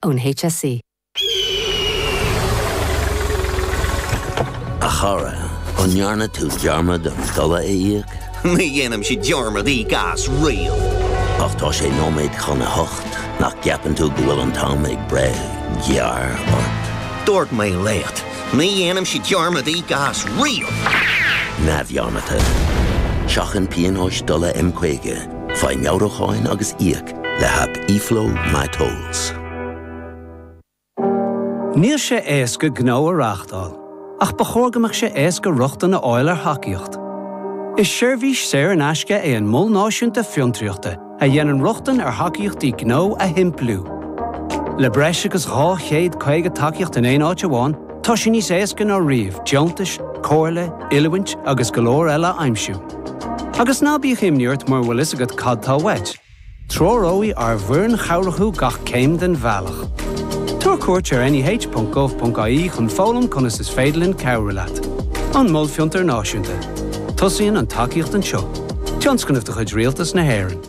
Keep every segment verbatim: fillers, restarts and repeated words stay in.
Ón HSE. A chara, an ndearna tú dearmad an dola a íoc? Ní dhéanaimse dearmad íoc as riamh. Ach tá sé nóiméad chun a hocht, nach gceapann tú go bhfuil an t-am ag breith gearr ort? Dúirt mé leat, ní dhéanaimse dearmad íoc as riamh. Neamhdhearmadta. Seachain pionóis dola M caoga, faigh meabhrúcháin agus íoc le haip eFlow MyTolls. Níl sé éasca gnó a reáchtáil, ach ba chóir go mbeadh sé éasca rochtain a fháil ar thacaíocht. Is seirbhís saor in aisce é an Mol Náisiúnta Fiontraíochta a dhéanann rochtain ar thacaíochtaí gnó a shimpliú. Le breis agus dhá chéad caoga tacaíocht in aon áit amháin, tá sé níos éasca ná riamh deontais, comhairle, oiliúint agus go leor eile a aimsiú. Agus ná bíodh imní ort mura bhfuil fhios agat cad tá uait. Treoróidh ár bhfoireann chabhrach thú gach céim den bhealach. Tabhair cuairt ar neh.gov.ie chun foghlaim conas is féidir linn cabhrú leat. An Mol Fiontar Náisiúnta. Tosaíonn an tacaíocht anseo. Tionscnamh de chuid Rialtas na hÉireann.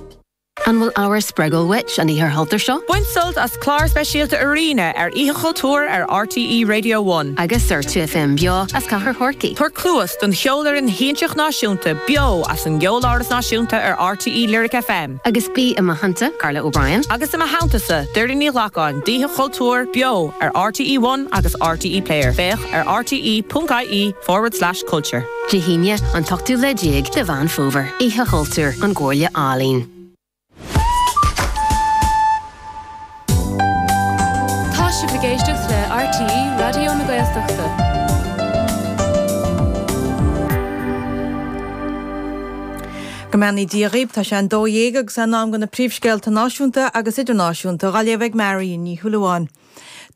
An bhfuil ábhar spreagúil uait an oíche chultúir seo? Bain sult as clár speisialta Arena ar Oíche Chultúir ar RTÉ Radio One. Agus ar Two FM beo as Cathair Chorcaí. Tabhair cluas don Cheolfhoireann Shiansach Náisiúnta beo as an gCeoláras Náisiúnta ar RTÉ Lyric FM. Agus bí i mo theannta, Carla O'Brien. Agus i mo theannta-sa, Doireann Ní Ghlacáin, d'Oíche Chultúir beo ar RTÉ One agus RTÉ Player. Féach ar rte.ie forward slash culture. Dé hAoine an t-ochtú lá déag de Mheán Fómhair. Oíche Chultúir an gComhairle Ealaíon. Tá sibh ag éisteacht le RTÉ Raidió na Gaeltachta. Go mbeannaí Dia dhaoibh, tá sé an dó dhéag agus in am do na príomhscéalta náisiúnta agus idirnáisiúnta á léamh ag Marion Ní Shúilleabháin.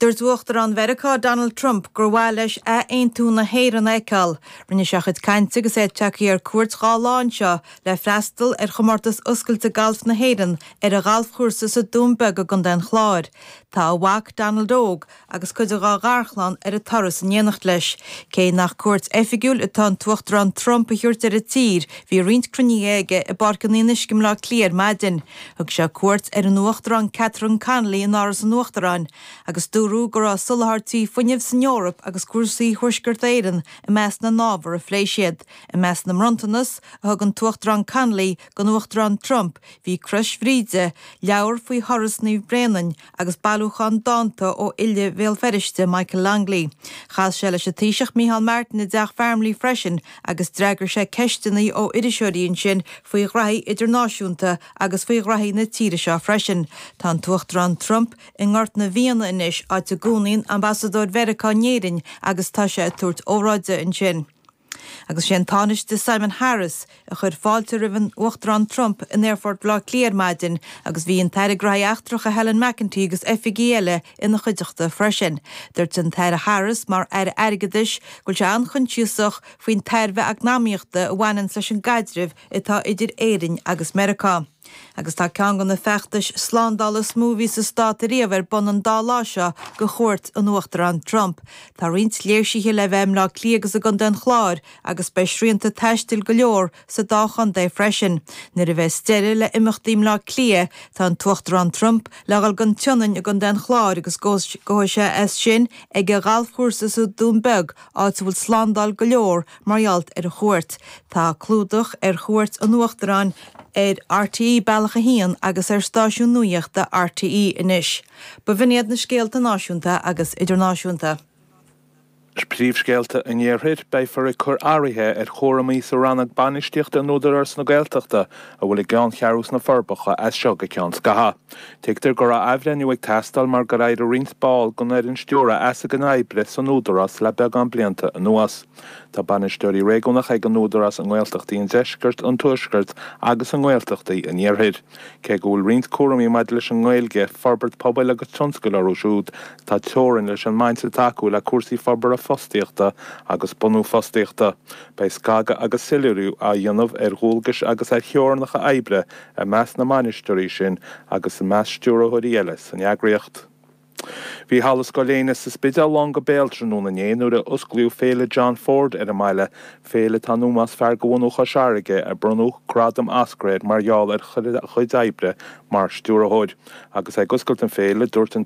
Dúirt Uachtarán Mheiriceá Donald Trump gur mhaith leis athaontú na hÉireann a fheiceáil. Rinne sé a chuid cainte agus é tagtha ar cuairt dhá lá anseo le freastal ar chomórtas oscailte galf na hÉireann ar a ghalfchúrsa sa Dún Beag i gContae an Chláir. Tá a mhac Donald Óg agus cuid dá gharchlann ar an turas in éineacht leis. Cé nach cuairt oifigiúil atá an tUachtarán Trump a thabhairt ar an tír, bhí roinnt cruinnithe aige i bPáirc an Fhionnuisce i mBleá Cliath ar maidin. Thug sé cuairt ar an Uachtarán Catherine Connolly in Áras an Uachtaráin, agus dúradh go raibh soláthairtí fuinnimh san Eoraip agus cúrsaí Thuaisceart Éireann i measc na n-ábhar a phléigh siad. I measc na mbronntanas a thug an tUachtarán Connolly don Uachtarán Trump bhí Crois Bhríde, leabhar faoi thuras Naomh Bréanainn agus bailiúchán dánta ó fhile Bhéal Feirste Michael Longley. Chas sé leis an Taoiseach Micheál Martin i dTeach Farmleigh freisin agus d'fhreagair sé ceisteanna ó iriseoirí ansin faoi ghraithí idirnáisiúnta agus faoi ghraithí na tíre seo freisin. Tá an tUachtarán Trump i nGort na bhFianna anois áit a gcónaíonn ambasadóir Mheiriceá in Éirinn agus tá sé ag tabhairt óráide ansin. Agus sé an Tánaiste Simon Harris a chuir fáilte roimh an Uachtarán Trump in Aerfort Bhaile Átha Cliath ar maidin agus bhí an tAire Gnóthaí Eachtracha Helen McEntee agus oifigigh eile ina chuideachta freisin. Dúirt an tAire Harris mar Aire Airgeadais go bhfuil sé an-choinsiasach faoin tairbhe eacnamaíochta a bhaineann leis an gcaidreamh atá idir Éirinn agus Meiriceá. Agus tá ceann de na feachtais slándála is mó a bhí sa stát ariamh ar bun an dá lá seo do chuairt an Uachtaráin Trump. Tá roinnt léirsithe le bheith i mBleá Cliath agus i gContae an Chláir agus beidh srianta taistil go leor sa dá chontae freisin. Nuair a bheas deireadh le imeachtaí i mBleá Cliath, tá an tUachtarán Trump le dhul don tSionainn i gContae an Chláir agus gabhfaidh sé as sin ag a ghalfchúrsa sa Dún Beag, áit a bhfuil slándáil go leor mar gheall ar a chuairt. Tá clúdach ar chuairt an Uachtaráin ar RTÉ Bealach a hAon agus ar stáisiún nuachta RTÉ anois. B'in iad na scéalta náisiúnta agus idirnáisiúnta. Príomhscéalta an Iarthair beifear ag cur athruithe ar chúraimí sa rannóg bainistíochta in Údarás na Gaeltachta a bhfuil a gceanncheathrú sna Forbacha as seo go ceann scathaimh. Tuigtear go raibh athbhreithniú ag teastáil mar gur éirigh roinnt ball den fhoireann stiúrtha as a gcuid oibre san Údarás le beagán blianta anuas. Tá bainisteoirí réigiúnacha ag an Údarás i nGaeltachtaí an Deiscirt, an Tuaiscirt agus i nGaeltachtaí an Iarthair. Cé go bhfuil roinnt cúraimí maidir leis an nGaeilge, forbairt pobail agus tionscail orthu siúd, tá teorainn leis an mbaint atá acu le cúrsaí forbartha fostaíochta agus bunú fostaíochta. Beidh scagadh agus soiléiriú á dhéanamh ar dhualgais agus ar theorainneacha oibre i measc na mbainisteoirí sin agus i measc stiúrthóirí eile san eagraíocht. Bhí Halla Scoil Éanna sa Spidéal lán go béal tráthnóna inné nuair a osclaíodh Féile John Ford ar an mbaile, féile atá in ómós fear de bhunadh Chois Fharraige ar bronnadh gradam Oscar air mar gheall ar a chuid oibre mar stiúrthóir. Agus é ag oscailt an féile, dúirt an